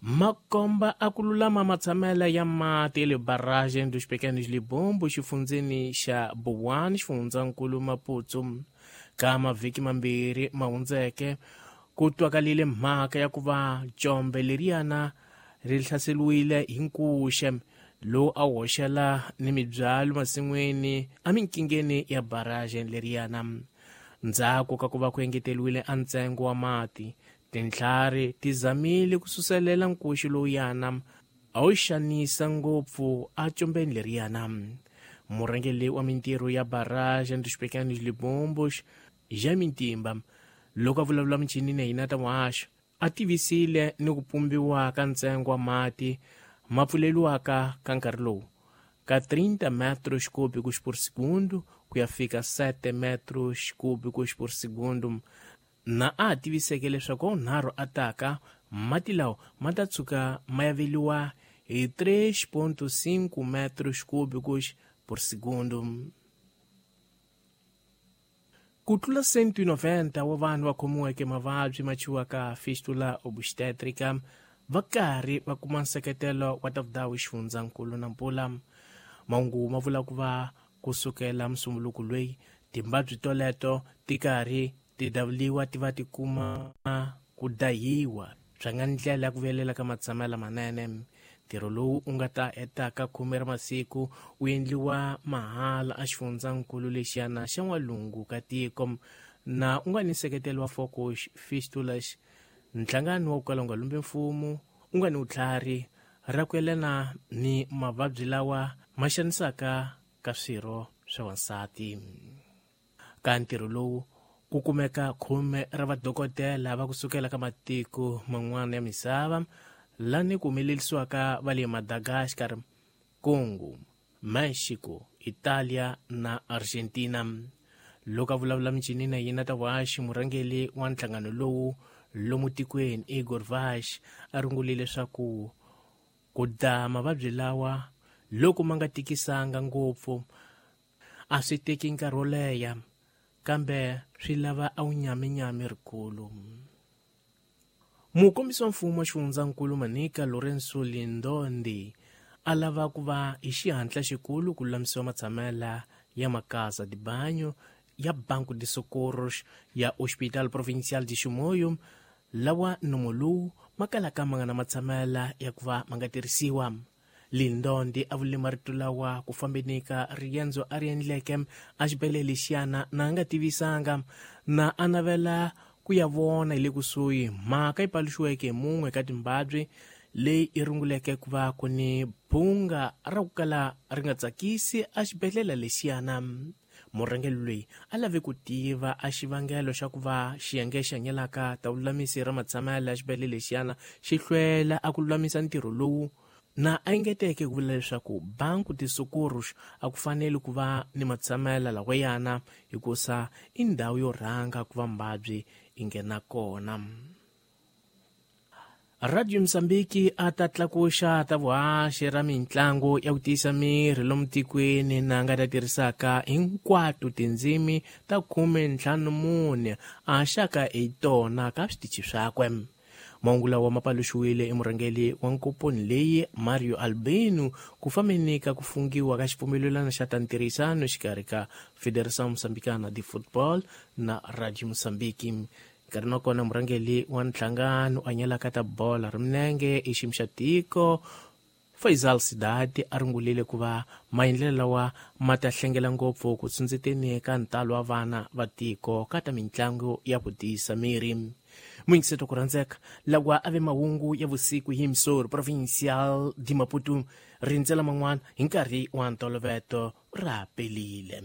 Makomba a ku lulama matshamela ya mati ya le Barragem dos Pequenos Libombos xifundzeni xa Buwani xifundzankulu Maputo. Ka mavhiki mambirhi ma hundzeke ku twakalile mhaka ya ku va jombe leriyana ri hlaseriwile hi nkuxe lowu a wu hoxela ni mibyalo masin'wini eminkingeni ya barragem leriyana. Ndzhaku ka ku va ku engeteriwile a ntsengo wa mati, tintlhari ti zamile ku suselela nkuxu lowuyana a wu xanisa ngopfu ejombeni leriyana. Murhangeri wa mintirho ya Barragem dos Pequenos Libombos, Jaime Ntimba, loko a vulavula michinini ya hina ta muhaxo, a tivisile ni ku pumbiwa ka ntsengo wa mati ma pfuleliwaka ka nkarhi lowu ka 30 metros cúbicos por segundo ku ya fika 7 metros cúbicos por segundo, na a tiviseke leswaku wunharhu a taka mati lawa ma ta tshuka ma yaveliwa hi 3.5 metros cúbicos por segundo. Ku tlula 190 wa vanhu va khomiweke mavabyi ma chiwaka fistula obstetrica va karhi va kuma nseketelo wa ta vudawu xifundzankulu na mpula. Mahungu ma vula ku va kusukela musumbuluku loyi timbabyi toleto ti karhi ti davuliwa ti va ti kuma ku dahiwa swa nga ndlela ya ku vuyelela ka matshamela manene. Ntirho lowu u nga ta hetaka 10 ra masiku wu endliwa mahala a xifundzankulu lexiyana xa n'walungu ka tiko na u nga ni nseketelo wa Focus Fistulas, nhlangano wa ku kala u nga lumbi mfumo u nga ni vutlhari ra ku yelana ni mavabyi lawa ma xanisaka ka swirho swa wansati. Ka ntirho lowu ku kumeka 10 ra vadokodela va kusukela ka matiko man'wana ya misava lani ku humelerisiwaka va le Madagascar, Congo, Mexico, Italia na Argentina. Loko a vulavula michinini na yena ta vuhaxi, murhangeri wa nhlangano lowu lomu tikweni Igor Vash a rungulile leswaku ku da mavabyi lawa loko ma nga tikisanga ngopfu a swi teki nkarhi wo leha, kambe swi lava a wu nyaminyami rikulu. Mukombisi wa mfumo wa xifundzankulu Manica Lourenço Lindondi a lava ku va hi xihatla xikulu ku lulamisiwa matshamela ya makasa de banho ya Banco de Socorros ya Hospital Provincial de Chimoio lawa nomo lowu ma kalaka ma nga na matshamela ya ku va ma nga tirhisiwa. Lindondi a vule marito lawa ku fambeni ka riendzo a ri endleke a xibedhlele lexiyana na a nga tivisanga na a navela ku ya vona hi le kusuhi mhaka yi paluxiweke hi mun'we ka timbabyi leyi i runguleke ku va ku ni bunga ra ku kala ri nga tsakisi a xibedhlele lexiyana. Murhangeri loyi a lave ku tiva a xivangelo xa ku va xiyenge xi hanyelaka ta vululamisi ra matshamela ya xibedhlele lexiyana xi hlwela a ku lulamisa ntirho lowu, na a engeteke ku vula leswaku Banco de Socorros a ku faneli ku va ni matshamela lawayana hikusa i ndhawu yo rhanga ku va mbabyi i nghena kona. Radio Mozambique a ta tlakuxa ta vuhaxi ra mintlangu ya ku tiyisa miri lomu tikweni na nga ta tirhisaka hinkwato tindzimi ta 54 a haxaka hi tona ka switichi swakwe. Mahungu lawa ma paluxiwile i murhangeri wa nkomponi leyi Mario Albino ku fambeni ka ku fungiwa ka xipfumelelano xa ta ntirhisano xikarhi ka Federação Moçambicana de Football na Radio Mozambique. Nkarhi wa kona murhangeri wa nhlangano a nyelaka ta bola ra milenge i xiyimo xa tiko Faisal Sidati a rungulile ku va maendlelo lawa ma ta hlengela ngopfu ku tsundzuteni ka ntalo wa vana va tiko ka ta mintlangu ya ku tiyisa miri. Muyingiseto ku rhandzeka lawa a ve mahungu ya vusiku hi Msori Provincial de Maputo, rindzela man'wana hi nkarhi wa ntoloveto ra pelile.